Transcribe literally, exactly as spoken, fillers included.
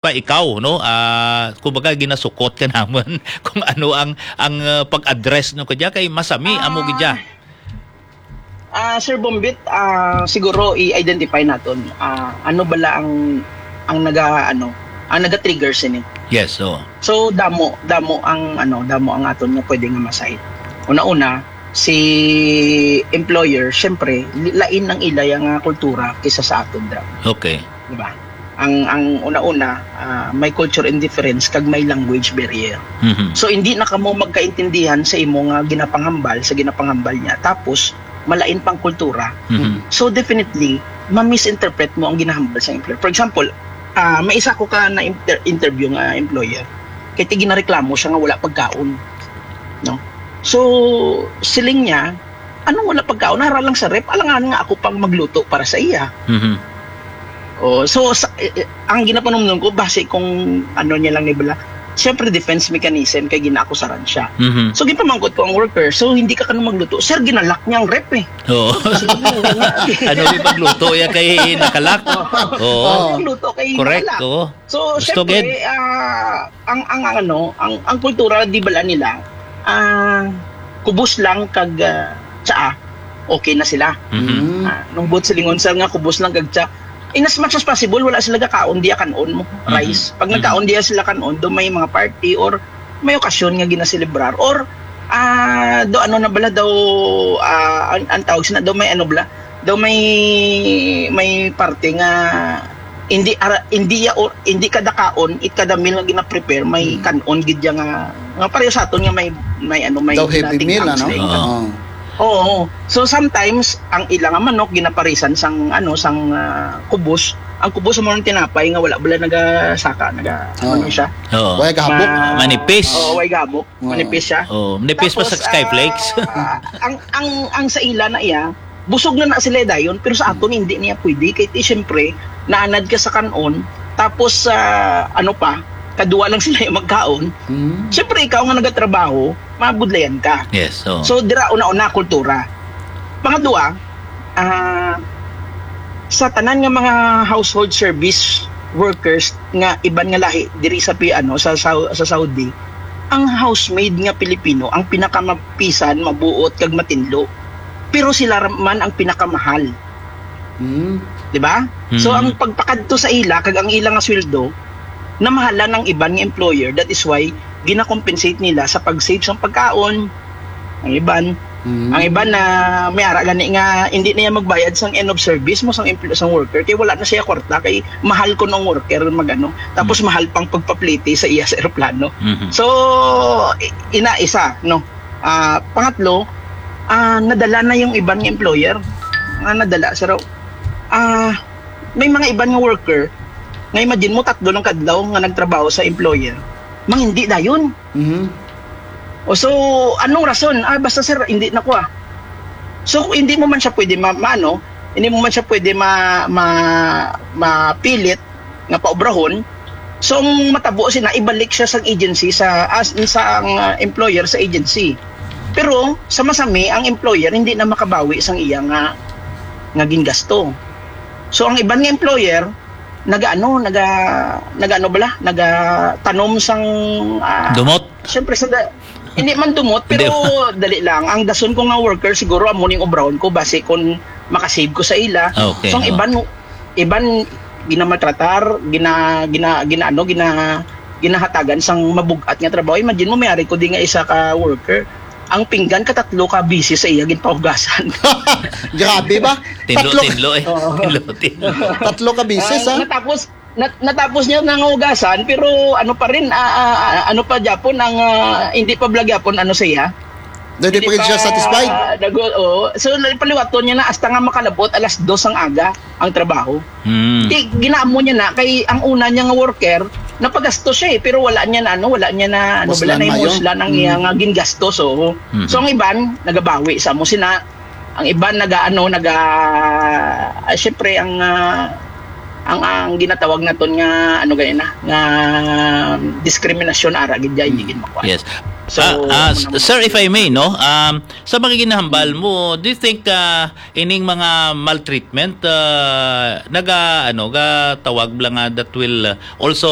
pa ikaw, no? Ah, kumbaga, ginasukot ka naman kung ano ang, ang, ah, pag-address, no, kadya kay masami, amo gid dya. Ah, Sir Bombit, ah, siguro i-identify naton, ah, ano bala ang, ang naga-, ano, ang naga-trigger sini. Yes, oo. So, damo, damo ang, ano, damo ang aton nga pwede nga ma-cite. Una-una, si employer, syempre, li-, lain ang ila nga kultura kaysa sa aton, dra. Okay. Di ba? Ang, ang una-una, ah, may culture indifference kag may language barrier. Mhm. So, hindi na kamo magkaintindihan sa imo nga ginapanghambal, sa ginapanghambal niya. Tapos, malain pang kultura. Mhm. So, definitely, ma-misinterpret mo ang ginahambal sa employer. For example, ah, may isa ko ka na inter-, interview nga employer. Kay ti ginareklamo siya nga wala pagkaon. No? So, siling niya, "Anong wala pagkaon? Nara lang sa ref, alangan nga ako pang magluto para sa iya." Mhm. Oh, so, sa, eh, eh, ang ginapanumdum ko, base kung ano niya lang ni bala, siyempre, defense mechanism, kay ginaakusaran siya. Mhm. So, ginpamangkot ko ang worker, "So, hindi ka kanang magluto?" "Sir, ginalock niya ang ref, eh." Oo. So, ano yung pagluto? Ya kay nakalock? Oo. Oo. Ang luto kay Correct, nakalock. Oo. So, Gusto syempre, gid. Ah, ang, ang, ang ano, ang, ang kultura, di bala nila, ah, kubos lang kag, ah, tsaa, okay na sila. Mhm. Mm. Ah, nung buot silingon, sir, nga kubos lang kag tsaa, in as much as possible, wala sila gakaon, diya kanon mo, Mhm. rice. Pag Mhm. nagkaon diya sila kanon, do may mga party or may okasyon nga ginaselebrar or, ah, do ano na bala daw, ah, ang, ang tawag sina, do may ano bala, do may, may parte nga hindi ara-, hindi ya, o, hindi kada kaon, it kada meal nga gina-prepare, may Hmm. kanon gid ya nga, nga pareho sa aton nga may, may ano, may Daw heavy meal, ano? Tinatam sila. Oo. Oo. Oo. So, sometimes, ang ila nga manok, ginaparisan sang, ano, sang, ah, kubos. Ang kubos mo ng tinapay nga wala bala nagasaka, naga-, ano Oo. na siya? Oo. Way gabok. Ma-, Manipis. Oo, way gabok. Oo. Manipis siya. Oo, manipis pa sa Tapos, Skyflakes. Ah, ang, ang, ang sa ila na iya, busog na na sila dayon, pero sa aton hindi niya pwede. Kay ti, siyempre, naanad ka sa kanon, tapos, ah, ano pa, kadua lang sila yung magkaon. Hmm. Siyempre, ikaw nga nagatrabaho, mabudlayan ka. Yes, oo. So, dira, una-una, kultura. Pangadua, ah, sa tanan nga mga household service workers nga iban nga lahi diri sa pi-, ano, sa Sau-, sa Saudi, ang housemaid nga Pilipino ang pinakamapisan, mabuot, kag matinlo. Pero sila ra-, man ang pinakamahal. Hmm. Di ba? So, Mm. ang pagpakadto sa ila kag ang ila nga sweldo, namahalan ang iban nga employer. That is why gina-compensate nila sa pag-save sang pagkaon. Ang iban, Mm. ang iban na may ara gani nga hindi na iya magbayad sang end of service mo sang empl-, sang worker kay wala na siya kwarta kay mahal ko nung worker magano. Tapos Mm. mahal pang pagpaplete sa iya sa eroplano. Mhm. So, i-, ina isa, no? Ah, pangatlo, ah, nadala na yung iban nga employer. Nga nadala, sir. Ah, may mga iban nga worker, nga imagine mo, tatlo lang kadlaw nga nagtrabaho sa employer. Mang hindi dayon. Mhm. O, so, anong rason? Ah, basta, sir, hindi na ko, ah. So, hindi mo man siya pwede ma-, maano, hindi mo man siya pwede ma-, ma-, mapilit nga paobrahon. So, ang matabo sina, ibalik siya sa agency, sa, as, sa ang, ah, employer sa agency. Pero, sa masami, ang employer hindi na makabawi sang iya nga, nga gingasto. So, ang iban nga employer, nagaano, naga-, nagaano bala? Nagatanom sang, ah, Dumot? Siyempre, sa da-, hindi man dumot, Hindi. pero dali lang. Ang dason ko nga worker, siguro amo ning obrahon ko, basi kung makasave ko sa ila. Okay, So, ang oo. iban, iban, ginamaltratar, gina-, gina-, gina-, ano, gina-, ginahatagan sang mabug-at nga trabaho. Imagine mo, may ari ko di nga isa ka worker. Ang pinggan, katatlo ka beses sa iya ginpahugasan. Grabe ba? Tinlo, Tatlo tinlo eh. Oo. Tinlo, tinlo. Tatlo ka beses, Ah, ha? natapos, nat-, natapos niya nangugasan, pero ano pa rin, ah, ah, ah, ano pa gyapon ang, ah, hindi pa bala gyapon ano siya. Dahil di Hindi pa gid siya pa satisfied? nag-, oo. So, paliwaton niya na hasta nga makalabot alas dos ang aga ang trabaho. Hmm. Di, ginaamo niya na, kay ang una niya nga worker, napagasto siya eh, pero wala niya na, ano, wala niya na, ano, Muslan wala na yung mayo. muslan ang Hmm. iya nga gingasto. So, Mhm. so ang iban, nagabawi sa mo sina, ang iban naga, ano, naga, ah, syempre, ang, ah, ang, ang ginatawag naton nga, ano gani na, nga diskriminasyon, ara gid, hindi Mm. gid makuha. Yes. So, Ah, ah, s- ano- sir, if I may, no, um, sa mga ginahambal mo, do you think ah, ining mga maltreatment ah, naga ano, ga tawag bla nga that will ah, also